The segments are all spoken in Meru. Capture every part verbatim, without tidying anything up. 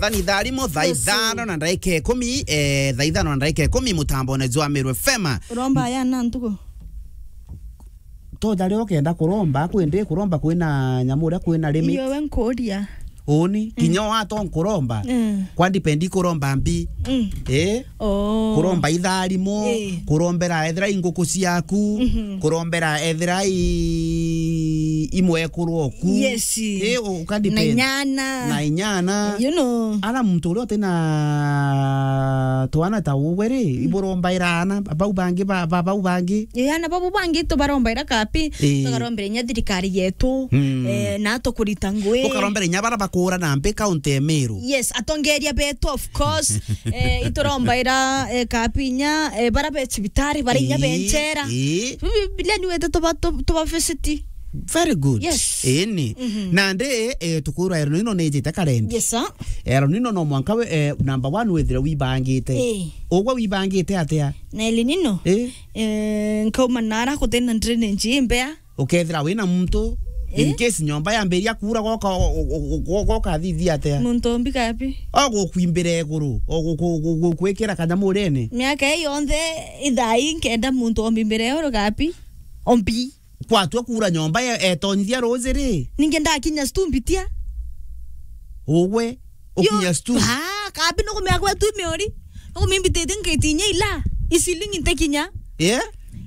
Thani thaa rimwe, thaa Yes. ithano na ndagika ikumi, eh, thaa ithano na ndagika ikumi, mutambone jwa Meru F M. Uromba ya na ntuku. Toja rio kenda kuromba, kwi ndi kuromba kwina nyamu uria kwina rimi. Iyo we nkuria. Uni, Mm. kinya wato nkuromba. Mm. Kwa dipendi kuromba mbi. Mm. Eh? Oh. Kuromba itharimo, Eh. kurombera ethira i nguku ciaku, Mhm. kurombera ethira i, i mwekuru oku. Yes. Eh, u-, uka Na depend. inyana. Na inyana. You know. Ara muntu uria utina twana ta uwe ri, Mm. iburombaira ana, bau bangi ba, ba, bau bangi. Ii, ana babu bangi tubarombaira kapi, Ii. tukarombera inya thirikari yetu, Mm. eh, na tukurita ngui. Ukarombera inya bara bakura na mbi kaunti ya Meru. Yes, atongeria betu, of course. Eh, iturombaira, eh, kapi inya, eh, bara be cibitari, bara inya be Ii, nchera. ii. Bi-, bi-, bila ni wete tuba, tu-, tuba visit. Very good. Yes. Ii ni. Mhm. Nandi, eh, tukwirwa ero nino nijite karendi. Yes, sir. Ero nino no mwanka we, eh, number one withire wibangite. Ii. Ugwe wibangite atia? Na El Nino? Ii. Eh, nkauma nara kuthina drainage imbea. Ukethira wina muntu, in Eh? case nyomba yambiria kuura, goka, go-, go-, go-, goka thithia atia? Muntu ombi kapi? O gukwimbira iguru, o gu-, gu-, gu-, gukwikira kanyamu urene. Miaka ii yonthe ithai nkenda muntu ombimbira iguru kapi? Ombi. Kwatua kuura nyomba e-, etonyithia ruuji ri? Ningi ndakinya stumbitia. Ugwe, Yo, ukinya stu. Ah, kabi nukumea kwetu miori. Nukumimbititie nkaitinya ila. Isilingi ntekinya. Eh?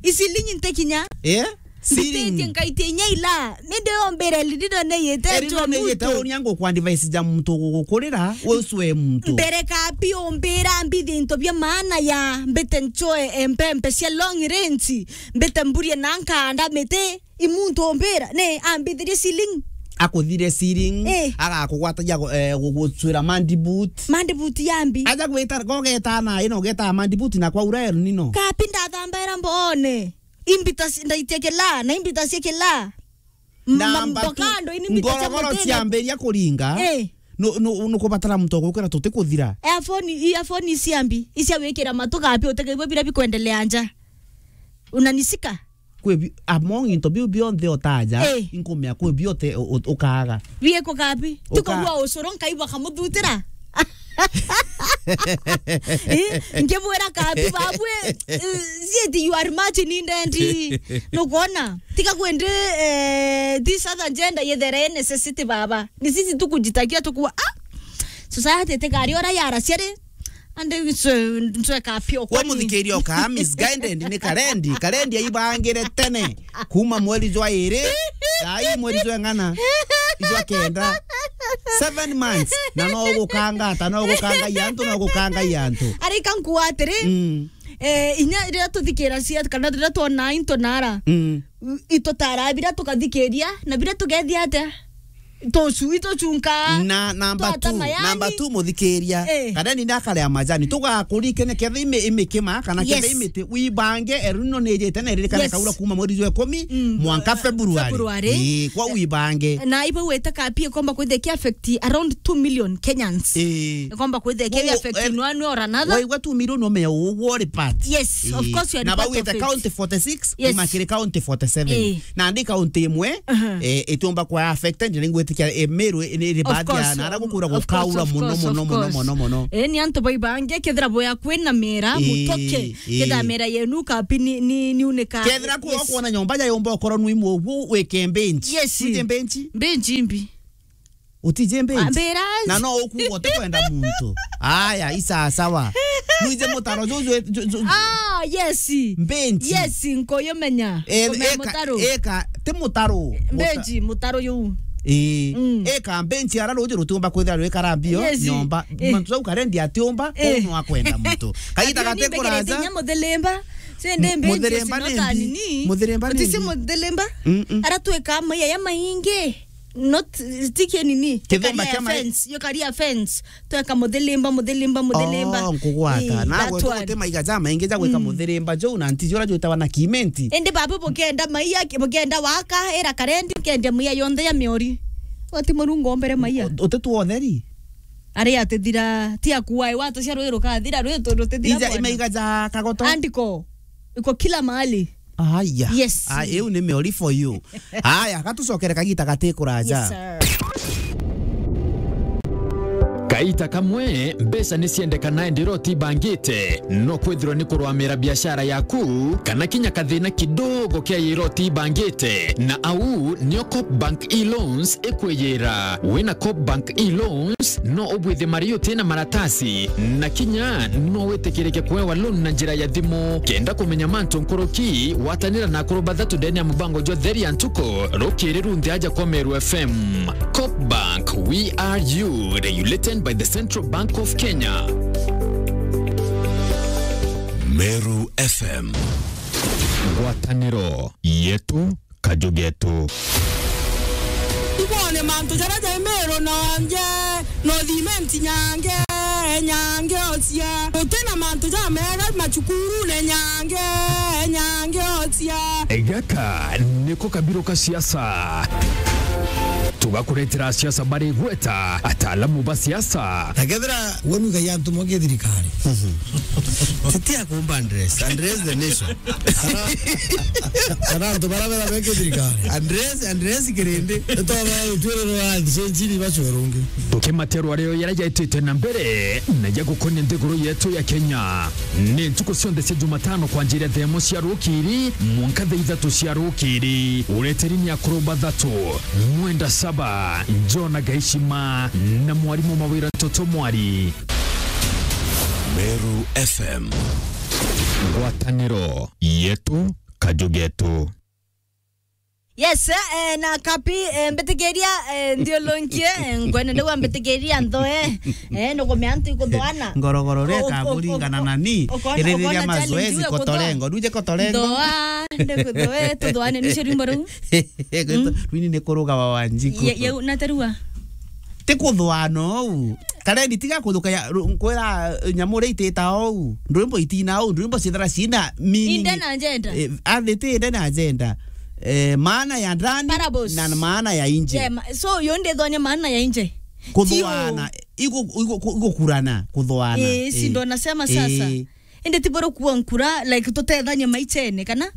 Isilingi ntekinya. Eh? Mbititie Siling. nkaitinya ila. Nindi ombire lililo neyete Eri njo no neyete muntu. Uria nguku advice ja muntu gugukurira, we ucwe muntu. Mbere kabi umbira mbithi into bia maana ya mbite nchoe empempe cia long range. Mbite mburie na nkanda miti. I muntu ombira, ne, ambithirie ceiling. Akuthire ceiling, Eh. agakugwatagia gu-, eh, gugucwira mandiboot. Mandiboot yambi. Aja gwita, gogeta na, ino geta mandiboot na kwa ura El Nino. Kapi ndathambera mbone. Imbita ci-, ndaitia kila, na imbita cia kila. M-, Na ma-, mbatu, mbokando, ini imbita cia ngorogoro mutene. Ciambiria kuringa. Eh. Nu-, nu-, nukubatara muntu ogukira tuti kuthira. Earphone, i earphone iciambi, icia gwikira matu kapi utikaigua bira bikwendelea nja. Unanisika? Kwi bi-, among into biu bionthe otaja, Eh. inkumea kwi biote u-, u-, ukaaga. Bieko kabi? Uka- Tukagua ucuru nkaigua kamuthutira. Eh, nkimwira kabi babwe, eh, zieti you are much needed. Nukwona? Tiga kwendi, eh, this other gender yethere necessity baba. Ni sisi tukujitakia tukua, ah, society tikari ora yara ciari. Ande ncwe, ncwe kapio Kwa kwani. Muthikiria uka misguided ni karendi. Karendi aibangire tene. Kuma mweri jwa iri. Ai mweri jwa ng'ana. Jwa kenda. Seven months. Na no gukanga ata, no gukanga i antu, no gukanga i antu. Ari kankuwa atiri. Mm. Eh, inya riria tuthikira cia, kana riria twona into nara. Mm. Itutara bira tukathikiria, na bira tugethia atia? Tucu, itucunka. Na number two, number two, muthikiria. Eh. Kana ni ndakare ya majani. Tugakurikene kethe ime-, imikima, kana kethe Yes. imiti, wibange, eruno nejete na iririkane Yes. kaura kuma mweri jwa ikumi, Mm. mwanka February. February. Eh, kwa wibange. Na ibo wete kapie komba kwithia ki affect around two million Kenyans. Eh. Komba kwithia ki Wo-, affect eh, in one way or another. Waigua two million umenya ugwo ri part. Yes, of Eh. course you are Na part of bawite it. County forty-six, Yes. imakire county forty-seven. Eh. Na ndi county imwe, Aha. Eh, itiumba kwa affected, na ningwitikia, eh, Meru, eh, ni, ni Of baadhi ya, course, na ara gukura of course, gukaura of muno, course, muno, of muno, course. Muno, muno. Eh, ni antu baibange, kethira boya kwina mera, Eh, mutoke. Eh. Kethira mera yenu kapi ni, ni, ni unika. Kethira ku Yes. Okona nyomba ya yomba okoro nwi mwogu, wike bench. Yes. Wike bench. Bench imbi. Utije mbenji. Ambira. Na no ukuga utikwenda muntu. Aya, isa sawa. Nuije mutaro juju, ju-, ju-, Ah, yes. Mbenji. Yes, nkoyo menya. Eh, Kumea eka, mutaro. Eka, ti mutaro. Mbenji, mutaro yu. Eh, Mm. Eka mbenji ara ruju rutiumba kwithira rwi karambio, Yes. Nyomba. Eh. Mantu jau karendi atiumba, Eh. Uno akwenda muntu. Kaita Ati gate ni mbekirite kuraja. Inya muthirimba. Sende Mu-, mbenji muthirimba sino nindi. Tanini. Muthirimba Utisi nindi. Muthirimba. Mm-mm. Ara tweka maya ya maingi. Not, ti kia nini? Kithumba kia mai- Fence, yo karia fence. Tweka muthirimba, muthirimba, muthirimba. Oh, nkugwata. Eh, na that gwe one. Tuguti maiga ja maingi ja gwika Mm. Muthirimba jo na nti jura jwitawa na kimenti. Indi baba bukenda maiya, bukenda waka, era karendi, kendia maiya yonthe ya miori. Wati murungu ombere maiya. Uti tu otheri. Ari atithira, ti akuwa, watu cia rwi rukathira, rwi tu rutithira. Ija bwana. Imaiga ja kagoto. Andiko. Iko kila mahali. Aya. Yes. Ah, iu ni meori for you. Aya, gatucokere kagita gati kuraja. Yes, sir. Kaita kamwe, mbeca ni ciendekana indi iro ti ibangite. No kwithirwa ni kurwamira biashara yaku, kana kinya kathina kidogo kia iro ti ibangite. Na au nio Coop Bank e-Loans ikwiyira. Wina Coop Bank e-Loans, no ubwithie mari uti na maratasi, na kinya no witikirike kuewa loan na njira ya thimu. Kenda kumenya mantu nkuruki, watanira na akuru bathatu ndene ya mubango jwa Theri ya Ntuku, rukiri runthe aja kwa Meru F M. Coop Bank, we are you, regulated by the Central Bank of Kenya. Meru F M. Ngwataniro yetu, kaju getu. Ibone mantu jaria jai Meru nonje, no cement nyange, nyange ocia. Uti na mantu jamega macukurune nyange, nyange ocia. Gaka niko kabiru ka siasa. Tugakuretera siasa bari gweta, ataalamu ba siasa. Na kethira we nuga ya antu moke thirikari. Titi akumba address, address the nation. Ara, ara antu bara bera beke thirikari. Address, address kirindi. Ito ba utwire ro wa nchini bachorungi. Tukimaterwa reo yara jaitite na mbere, na ya gukonia nthiguru yetu ya Kenya. Ni ntuku cionthe cia Jumatano kwanjiria thaa imwe cia rukiri, mwanka thaa ithatu cia rukiri. Ureteri ni akuru bathatu, Mwenda Saba, Jona Gaishima, na mwarimu Mawira Ntoto Mwari. Meru F M. Ngwataniro yetu, kaju getu. Yes, eh, na kapi, eh, mbitikiria, eh, nthiulunkie, eh, ngwene ndigwa mbitikiria nthoe, eh, nukumea antu ikuthoana. Ngorogoro ria kaburingana na ni, iririria mazoezi kotorengo, nduje kotorengo. Nthoa, ndikuthoe, tuthoane nicio rwimbo ruu. Rwini ni kuruga wa Wanjiku. Ye, ye, na tarua. Ti kuthoana ou. Kareni, tiga kuthuka ya, ru-, nkwira, eh, nyamu ria itita ou. Ndwimbo itina ou, ndwimbo ciithira ciina meaning. Inde na agenda. Eh, athi ti inde na agenda. Eh, maana ya ndani na maana ya nje. Yeah, ma-, so, yo ndithonia maana ya nje. Kuthoana, igu-, igu-, ku-, igukurana, kuthoana. Eh, si ndo nasema sasa. Eh. Indi ti boro kuwa nkura, like, tutethanie maichene, kana?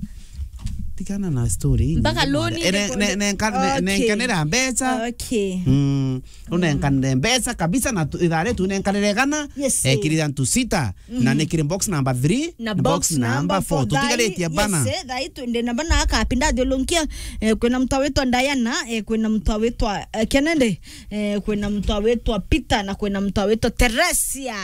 Tigana na story. Mpaka loan. Eh, ne-, ne-, nenka-, ne-, okay. Nenkanira mbeca. Okay. Mm. Unenkanire mbeca kabisa na tu-, ithare tu nenkanire gana. Yes, eh, eh. Kiri antu sita. Na ni kiri box number three, na box number four. Tutigaritie bana. Yes, eh, thai tu-, ndi na bana akapi ndathiulunkia, eh, kwina mtu awitwa Diana, eh, kwina mtu awitwa, eh, Kennedy, eh, kwina mtu awitwa Peter, na kwina mtu awitwa Teresia.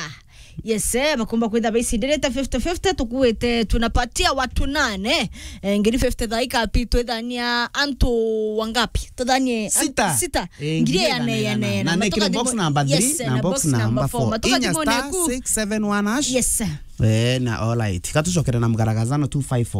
Yes, eh, bakumba kwitha baicindirite fifty fifty, tukuite tunapatia watu nane, eh, ngiri fifty thaa ikapi twithania antu wangapi? Tuthanie an-, sita. Sita. Eh, ngiri ngiri ijana, ijana, ijana. Na nekire box number three, yes, na box number four. Matoka inya thimone star ku. Six seven one hash. Yes, sir. Eh, na all right. Katucokere na mgaragazano two five four.